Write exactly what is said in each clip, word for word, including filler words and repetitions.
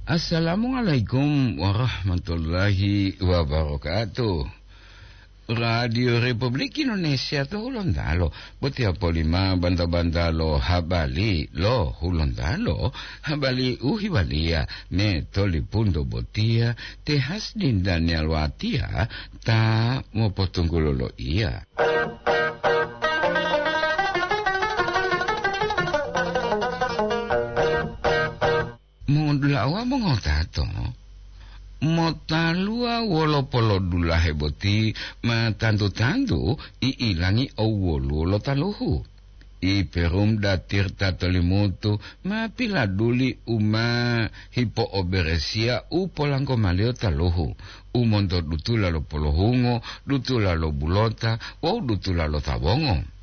Assalamualaikum warahmatullahi wabarakatuh. Radio Republik Indonesia to Hulontalo, botiya polima banta-banta lo habari lo Hulontalo, habari u hewaliya me tolipunto botiya te Hasdin Daniel Watia ta mopotunggulo lo iya. Modulawa mongotato, motaluwa wolo polodulahe boti ma tantu-tantu i'ilangi owoluwo lo taluhu. I Perumda Tirta Tolimutu ma piladuli u ma hipo'oberesiya u polangkomaliyo taluhu, u monto dutula lo polohungo, dutula lo bulota wawu dutula lo tawongo.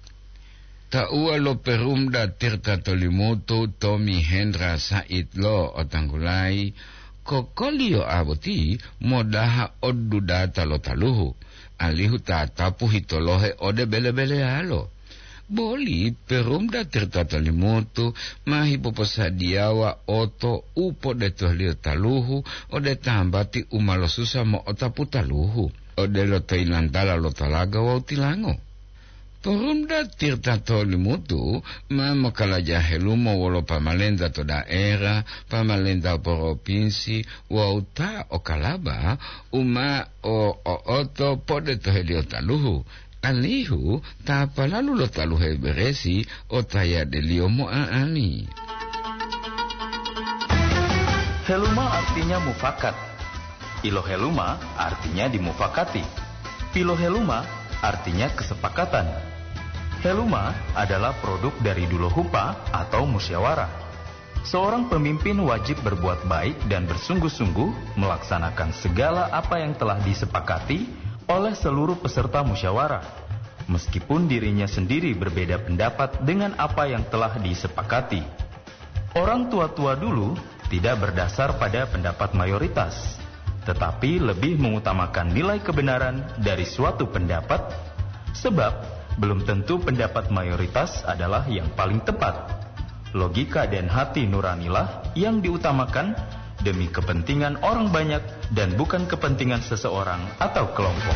Tauwa lo Perumda Tirta Tolimutu, Tommy Hendra Said lo otanggulayi, kokoliyo a boti modaha odudata lo taluhu, alihu tatapu hitolohe ode bele-beleyalo. Boli Perumda Tirta Tolimutu ma hipoposadiyawa oto u podetoheliyo taluhu ode tambati u ma losusa mo'otapu taluhu, odelo to yilantala lo talaga wawu tilango. Porumda Tirta Tolimutu ma mokalaja helumo wolo pamalenta to daera, pamalenta poropinsi wawu ta o kalaba u ma o-, o'oto podetoheliyo taluhu, alihu ta palalu lo taluhe beresi o tayadeliyo mo'a'ani. Heluma artinya mufakat. Iloheluma artinya dimufakati. Piloheluma artinya kesepakatan. Heluma adalah produk dari dulohupa atau musyawarah. Seorang pemimpin wajib berbuat baik dan bersungguh-sungguh melaksanakan segala apa yang telah disepakati oleh seluruh peserta musyawarah, meskipun dirinya sendiri berbeda pendapat dengan apa yang telah disepakati. Orang tua-tua dulu tidak berdasar pada pendapat mayoritas, tetapi lebih mengutamakan nilai kebenaran dari suatu pendapat, sebab belum tentu pendapat mayoritas adalah yang paling tepat. Logika dan hati nuranilah yang diutamakan demi kepentingan orang banyak dan bukan kepentingan seseorang atau kelompok.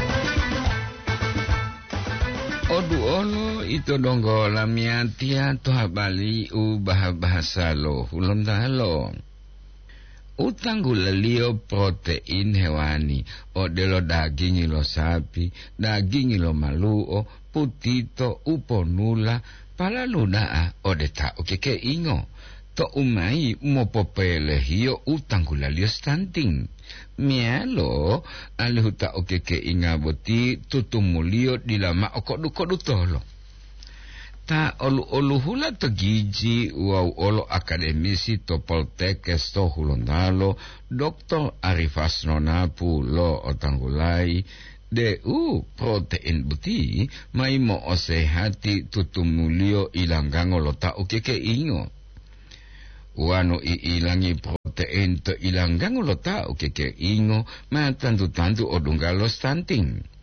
Oduolo ito donggo lamiyatiya to habari u baha-bahasa lo Hulontalo. U tanggulaliyo protein hewani, odelo dagingi lo sapi, dagingi lo malu'o, putito, u ponula, palalu da'a ode ta ukekeingo. To'u mayi mopopelehiyo u tanggulaliyo stunting. Meyalo alihu ta ukekeinga boti tutumuliyo dila mao kodu-kodutolo. Ta olu-oluhula to giji wawu olo akademisi to Poltekkes to Hulontalo, Doktor Arifas Nonapu lo otanggulayi deu protein boti mayi mo'osehati tutumuliyo ilanggango lo ta ukekeingo. Wonu i'ilangi protein to ilanggango lo ta ukekeingo, ma tantu-tantu odungga lo stunting.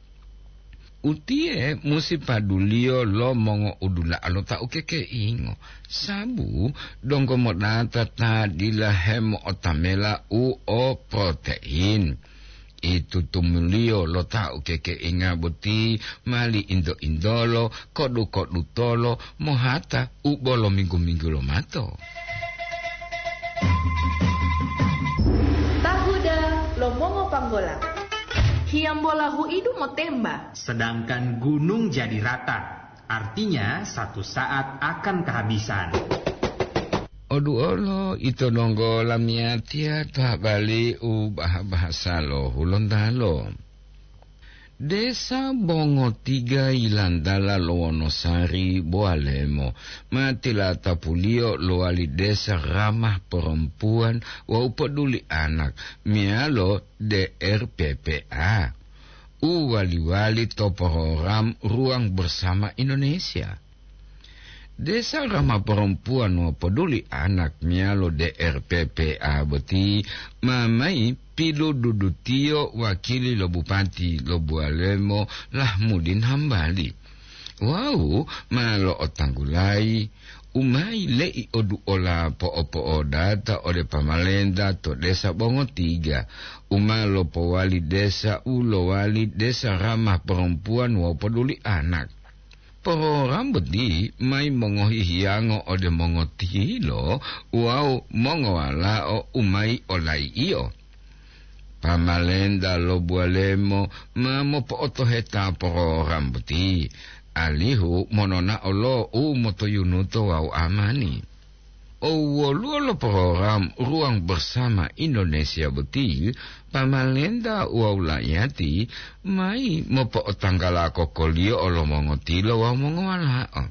Utiye musi paduliyo lo mongo'udula'a lo ta ukekeingo, sabu donggo modata ta dila hemo'otamela u o protein. Itutumuliyo lo ta ukekeinga boti mali into-intolo, kodu-kodutolo, mohata u bolo minggu-minggu lomato. Tahuda lo mongo panggola. Hiyambola huidu motemba. Sedangkan gunung jadi rata, artinya satu saat akan kehabisan. Oduolo ito donggo lamiyatiya to habari u baha-bahasa lo Hulontalo. Desa Bongotiga yilantala lo Wonosari Bowalemo ma tilatapuliyo lowali desa ramah perempuan wawu poduli anak meyalo D R P P A u wali-wali to program Ruang Bersama Indonesia. Desa Rama Perempuan Mopoduli Anak meyalo D R P P A boti ma mayi pilududutiyo wakili lo Bupati lo Bualemo Lahmudin Hambali. Wawu ma lo'otanggulayi u ma yile'i oduola po'opo'odata ode pamalenta to desa Bongotiga, u ma lopowali desa u lowali desa ramah perempuan wawu poduli anak. Porogram boti mayi mongohi hiyango ode mongotilo wawu mongowalao u mayi olayi'io. Pamalenta lo Buwalemo ma mopo'otoheta porogram boti, alihu mononao lo u motoyunuto wawu amani. O woluwo lo porogram Ruang Bersama Indonesia boti, pamalenta wawu la'iyati mayi mopo'otanggala kokoliyo lo mongotilo wawu mongowalao.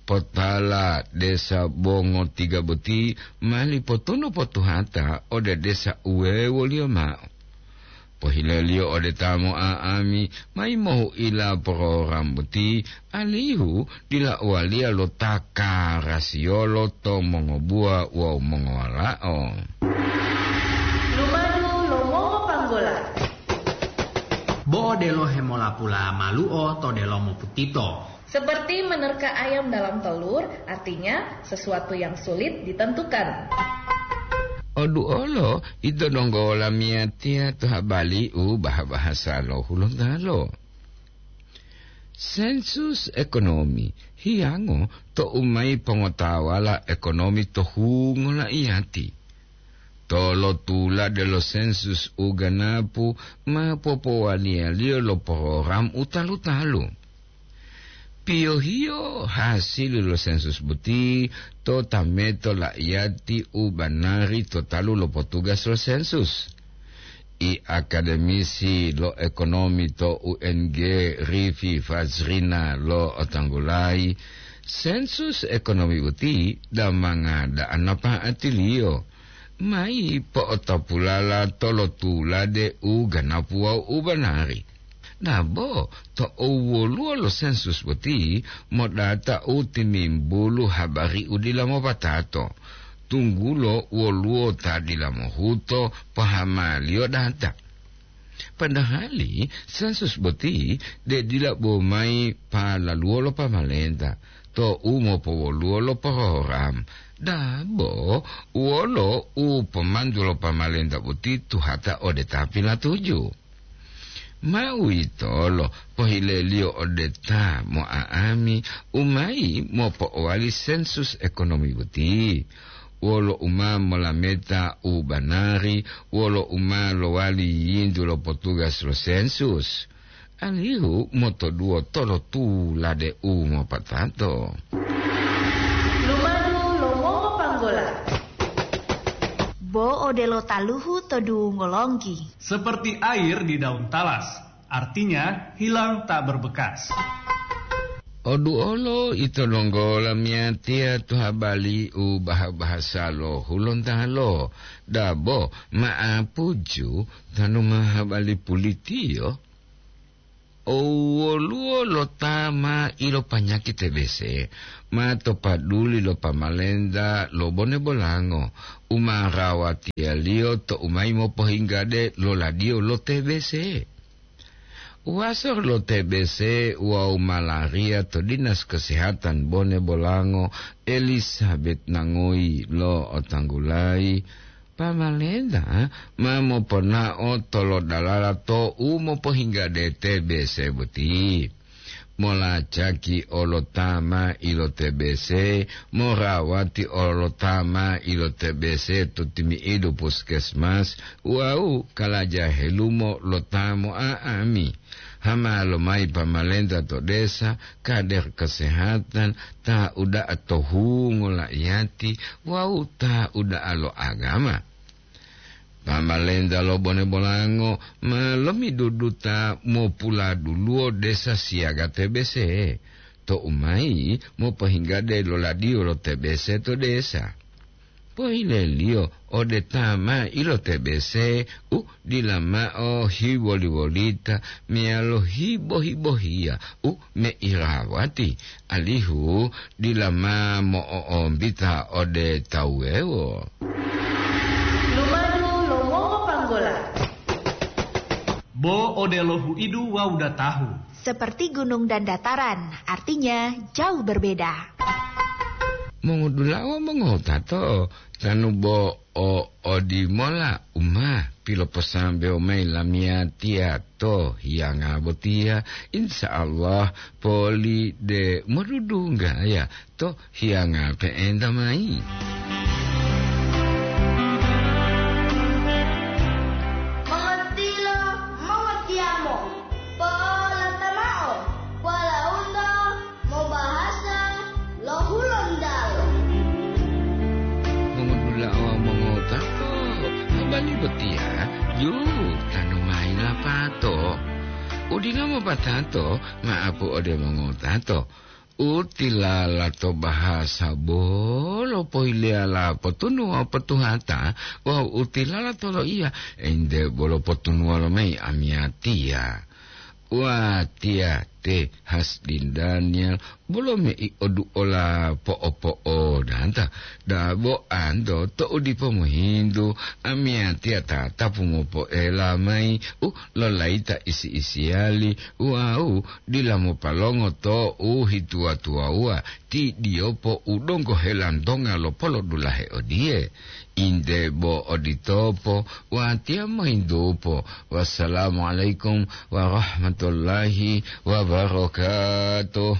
Potala desa Bongotiga boti mali potono potuhata ode desa uwewoliyo mao. Pohileliyo ode ta mo'a'ami mayi mohu'ila porogram boti, alihu dila uwaliya lo ta karasiyolo to mongobuwa wawu mongowalao. Lumadu lo mongopanggola. Bo odelo hemolapula malu'o to delomo putito. Seperti menerka ayam dalam telur, artinya sesuatu yang sulit ditentukan. Oduolo ito donggo lamiyatiya to habali u baha-bahasa lo Hulontalo. Sensus ekonomi hiyango to umayi pongotawala ekonomi to hungo la'iyati. Tolotulade lo sensus u ganapu ma popowaniyaliyo lo porogram u talu-talu. Piyohiyo hasili lo sensus boti to tameto la'iyati u banari to talu lo potugas lo sensus. I akademisi lo ekonomi to U N G, Rifi Fajrina, lo'otanggulayi, sensus ekonomi boti damanga da'a napa'atiliyo, mayi po'otopulala tolotulade u ganapu wawu u banari. Dabo to owoluwo lo sensus boti modata u timimbulu habari u dila mopatato, tunggulo woluwo ta dila mohuto pahamaliyo data. Padahali sensus boti de dila bo mayi palaluwo lo pamalenta to u mopowoluwo lo porogram, dabo wolo u pomantu lo pamalenta boti tuhata ode ta pilatuju. Ma uwitolo pohileliyo ode ta mo'a'ami u mayi mopo'owali sensus ekonomi boti, wolo u ma molameta u banari, wolo u ma lowali yintu lo potugas lo sensus, alihu motoduwo tolotulade u mopatato. Lumadu lo mongopanggola. Bo odelo taluhu to dungo longgi. Seperti air di daun talas, artinya hilang tak berbekas. Oduolo ito donggo lamiyatiya to habali u baha-bahasa lo Hulontalo, dabo ma'apuju tanu ma habali pulitiyo. O woluwo lo ta ma ilopanyaki T B C, ma to paduli lo pamalenta lo Bone Bolango, u ma rawatiyaliyo to u mayi mopohinggade lo ladiyo lo T B C. Waso lo T B C wawu malaria to Dinas Kesehatan Bone Bolango, Elizabeth Nangoyi, lo'otanggulayi, pamalenta ma moponao tolodalala to u mopohinggade T B C boti. Molacaki olo ta ma ilo T B C, morawati olo ta ma ilo T B C to timi'idu puskesmas wawu kalaja helumo lo ta mo'a'ami. Hama lomayi pamalenta to desa, kader kesehatan, ta uda'a to hungo la'iyati wawu ta uda'a lo agama. Pamalenta lo Bone Bolango ma lomiduduta mopuladuluwo desa siyaga T B C, to umayi mopohinggade lo ladiyo lo T B C to desa. Pohileliyo ode ta ma ilo T B C u dila ma'o hiwoli-wolita meyalo hibo-hibohiya u meirawati, alihu dila ma mo'o'ombita ode tawu wuwewo. Lumadu lo mongopanggola. Bo odelo huidu wawu datahu. Seperti gunung dan dataran, artinya jauh berbeda. Mongodula'a wawu mongotato, tanu bo o odimola u ma piloposambewo mayi lamiyatiya to hiyanga botiya, insya Allah poli de modudunggaya to hiyanga pe'enta mayi. Mongotiyo, mongotiyamo, po'olata mao, polauto mobahasa lo Hulontalo. Mongodula'a wawu mongotato, habari botiya yu tanu mayi lapato. Udila mopatato, ma'apu ode mongotato. U tilala to bahasa bolo pohileyala potunu wawu potuhata, wawu u tilala to loiya, ente bolo potunuwa lomayi amiyatiya. Watiya te Hasdin Daniel, bolo mei oduola po'opo'odanta, dabo anto to'u dipo mohintu, amiyatiya tatapu mopo'ela mayi u lolayita isi-isiyali wawu dila mopalongo to u hituwa-tuwawuwa ti diyopo u donggo helantonga lo polodulahe odiye. Inde bo oditopo, watiya mohintupo. Wassalamualaikum warahmatullahi wabarakatuh.